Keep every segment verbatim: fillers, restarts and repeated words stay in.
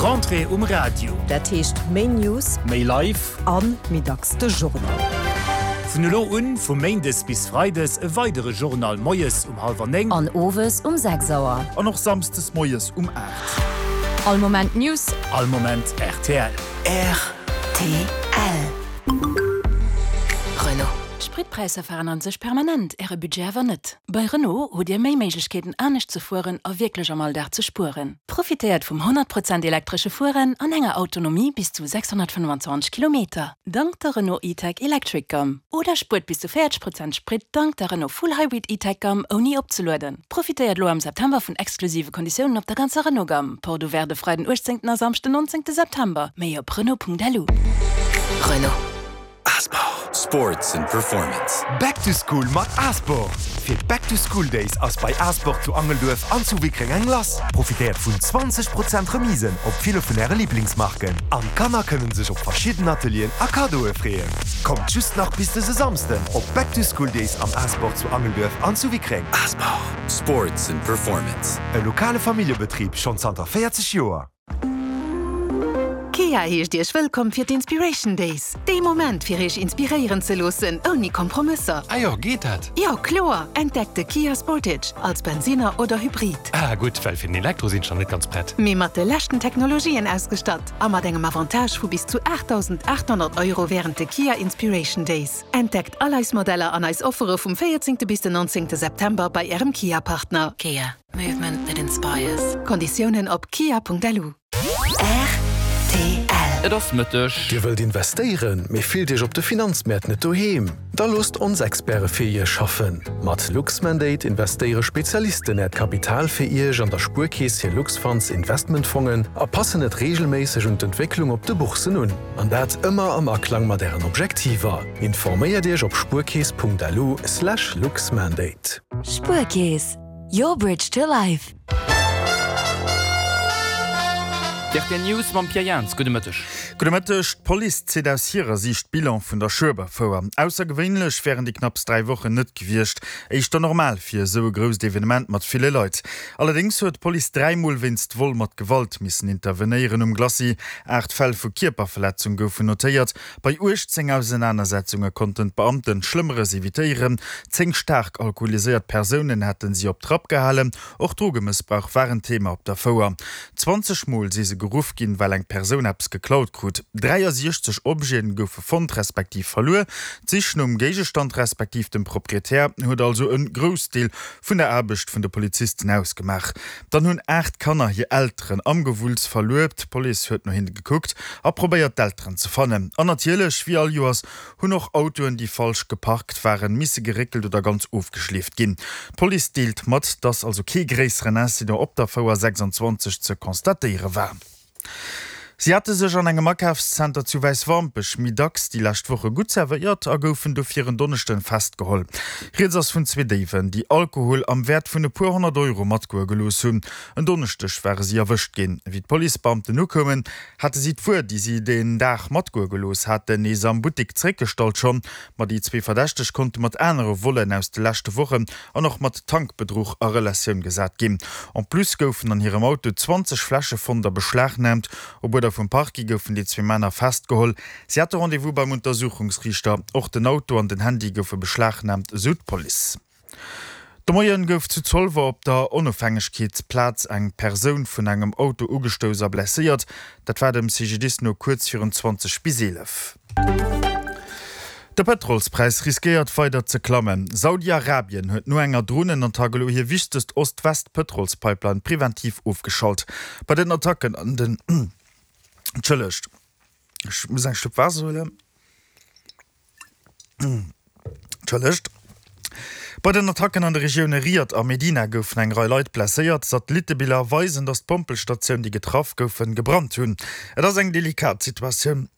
Rentrée um Radio. Dat heescht méi News, Méi live. An méi dacks de Journal. Vun elo un, vu Méindes bis Freides, e weidere Journal moies um hallwer néng. An owes um sechs Auer. An och samsdes moies um aacht. All Moment News. All Moment rtl. Rtl. Renault. D'Spritpräisser veränneren sech permanent, Äre Budget awer net. Bei Renault hutt Dir méi Méiglechkeeten anescht ze fueren a wierklech am Alldag ze spueren. Profitéiert vum honnert Prozent elektresche Fueren an enger Autonomie bis zu sechshonnertfënnwanzwanzeg Kilometer, dank der Renault E-Tech Electric Gamme. Oder spuert bis zu véierzeg Prozent Sprit dank der Renault Full Hybrid E-Tech Gamme ouni opzelueden. Profitéiert elo am September vun exklusive Konditiounen op der ganzer Renault Gamme. Porte ouverte de Freiden uechtzéngten a Samschden nonzéngte September. Méi op Renault.lu. Renault. Asport. Sports and Performance. Back to School mat Asport! Fir d'Back to School Days ass bei Asport zu Angelduerf an zu Wickreng eng lass. Profitéiert vun zwanzeg Prozent Remisen op ville vun äre Liblingsmarken. An d'Kanner kënnen sech op verschidden Atelieren a Kaddoe freeën. Kommt just nach bis dëse Samsden op Back to School Days am Asport zu Angelduerf an zu Wickreng. Asport. Sports and Performance. E lokale Familljebetrib schonn zanter véierzeg Joer. Kia heescht Iech wëllkomm fir d'Inspiration Days. Dee Moment fir Iech inspiréieren ze loossen, ouni Kompromësser. Ah jo, geet dat? Jo, kloer! Entdeckt de Kia Sportage als Bensinner oder Hybrid. Ah gutt, well fir den Elektro sinn ech nach net ganz prett. Mee mat de leschten Technologien ausgestatt a mat engem Avantage vu bis zu aachtdausendaathonnert Euro wärend de Kia Inspiration Days. Entdeckt all eis Modeller an eis Offere vum véierzéngte bis den nonzéngte September bei Ärem Kia-Partner. Kia, movement that inspires. Konditiounen op kia.lu. Rtl. Et ass Mëtteg. Dir wëllt investéieren, mee fillt Iech op de Finanzmäert net doheem? Da loosst ons Experte fir Iech schaffen. Mat Luxmandate investéiere Spezialisten Äert Kapital fir Iech an der Spuerkeess hir Luxfunds Investmentfongen a passen et reegelméisseg un d'Entwécklung op de Bourssen un. An dat ëmmer am Aklang mat Ären Objektiver. Informéiert Iech op spuerkeess.lu slash luxmandate. Spuerkeess, your bridge to life. D'R T L News mam Pierre Jans. Gudde Mëtteg. Gudde Mëtteg. D'Police zitt aus hirer Siicht Bilan vun der Schueberfouer. Aussergewéinlech wären déi knapps dräi Wochen net gewiescht, éischter normal fir esou e grousst Evenement mat ville Leit. Allerdéngs huet d'Police dräimol wéinst Vol mat Gewalt missen intervenéieren um Glacis. Aacht Fäll vu Kierperverletzung goufen notéiert. Bei uechtzéng Ausenanersetzunge konnten d'Beamten Schlëmmeres evitéieren. Zéng staark alkoholiséiert Persounen hätte si op Trapp gehalen. Och Drogemëssbrauch war en Thema op der Fouer. Zwanzeg Mol si se geruff ginn, well eng Persoun eppes geklaut krut. dräiasiechzeg Objete goufe fonnt respektiv verluer. D'Sich nom Géigestand respektiv dem Proprietär huet also e Groussdeel vun der Aarbecht vun de Polizisten ausgemaach. Dann hunn aacht Kanner hir Elteren am Gewulls verluer. D'Police huet no hinne gekuckt a probéiert d'Elteren ze fannen. An natierlech, wéi all Joers, hunn och Autoen, déi falsch geparkt waren, misse geréckelt oder ganz ofgeschleeft ginn. D'Police deelt mat, dass also kee gréisseren Incident op der Fouer sechsundzwanzeg ze constatéiere war. Si hate sech an engem Akafszenter zu Wäiswampech méi dacks déi lescht Woche gutt zerwéiert a goufen dofir en Donneschden festgeholl. Rieds ass vun zwee Déiwen, déi Alkohol am Wäert vun e puer honnert Euro matgoe gelooss hunn. En Donneschdeg ware si erwëscht ginn. Wéi d'Policebeamten ukoumen, hate si d'Wuer, déi si deen Dag matgoe gelooss haten, nees am Buttek zeréckgestallt schonn. Ma déi zwee Verdächteg konnte mat anere Vollen aus de leschte Wochen an och mat Tankbedruch a Relatioun gesat ginn. En plus goufen an hirem Auto zwanzeg Fläsche fonnt a beschlagnaamt. Op Uerder vum Parquet goufen déi zwee Männer festgeholl. Si hate Rendez-vous beim Untersuchungsriichter. Och den Auto an den Handy goufe beschlagnaamt, esou d'Police. De Moien gouf zu Zolwer op der Onofhängegkeetsplaz eng Persoun vun engem Auto ugestouss a blesséiert. Dat war dem C G D I S no kuerz virun zwanzeg bis eelef. De Pëtrolspräis riskéiert weider ze klammen. Saudi-Arabien huet no enger Dronenattack elo hir wichtegst Ost-West-Pëtrolspipeline preventiv ofgeschalt. Bei den Attacken an den Entschëllegt, ech muss eng Schlupp Waasser huelen. Entschëllegt. Bei den Attacken an de Regioune Riyadh a Medina goufen eng Rei Leit blesséiert. Satellittebiller weisen, datt d'Pompelstatioun, déi getraff goufen, gebrannt hunn. Et ass eng delikat Situatioun.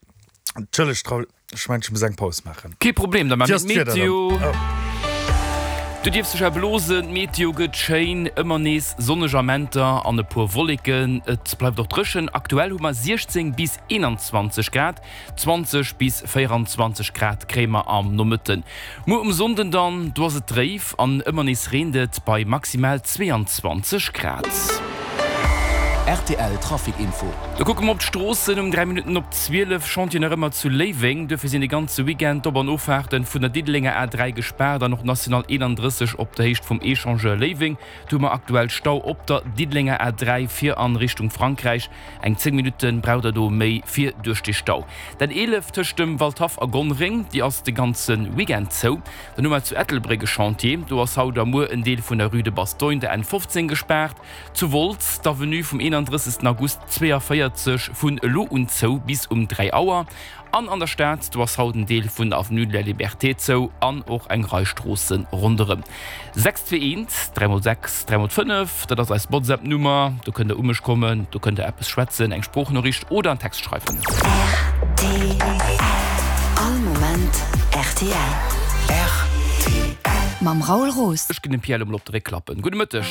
Entschëllegt, Raoul, ech mengen, ech muss eng Paus maachen. Kee Problem, da maache Wéi ass mir d'Wieder dann? d'Meteo. Oh. Du dierfs dech erblosen, d'Meteo gëtt schéin, ëmmer nees sonneg Amenter an e puer Wolleken. Et bleift och dréchen. Aktuell hu mer siechzéng bis eenanzwanzeg Grad, zwanzeg bis véieranzwanzeg Grad kréie mer am Nomëtten. Muer um Sonnden dann, do ass et dréif an ëmmer nees reent et bei maximal zweeanzwanzeg Grad. R T L Trafic Info. Da kucke mer op d'Stroossen, Um dräi Minutten op zwielef Chantier nach ëmmer zu Léiweng. Duerfir sinn de ganze Weekend d'Op an Offahrten vun der Diddelenger A dräi gespaart an och d'National eenandrësseg op der Héicht vum Echangeur Léiweng. Do hu mer aktuell Stau op der Diddelenger A dräi fir an Richtung Frankräich. Eng zéng Minutte braucht der do méi fir duerch dee Stau. D'N eelef tëscht dem Waldhaff a Gonnereng, déi ass de ganze Weekend zou. Dann hu mer zu Ettelbréck e Chantier. Do ass haut a muer en Deel vun der Rue de Bastogne, der N fofzéng, gespaart. Zu Wolz, d'Avenue vum eenandrëssegsten August zwéiavéierzeg vun elo un zou bis um dräi Auer. An an der Stad, do ass haut en Deel vun der Avenue de la Liberté zou an och eng Rei Stroosse ronderëm. Sechs zwee eent, dräi mol sechs, dräi mol fënnef, dat ass eis WhatsApp-Nummer. Do kënnt der u mech kommen, do kënnt der eppes schwätzen, eng Sproochnoriicht oder en Text schreiwen. Rtl, All Moment rtl. Mam Raoul Roos. Ech ginn dem Pierre elo mol op de Réck klappen. Gudde Mëtteg.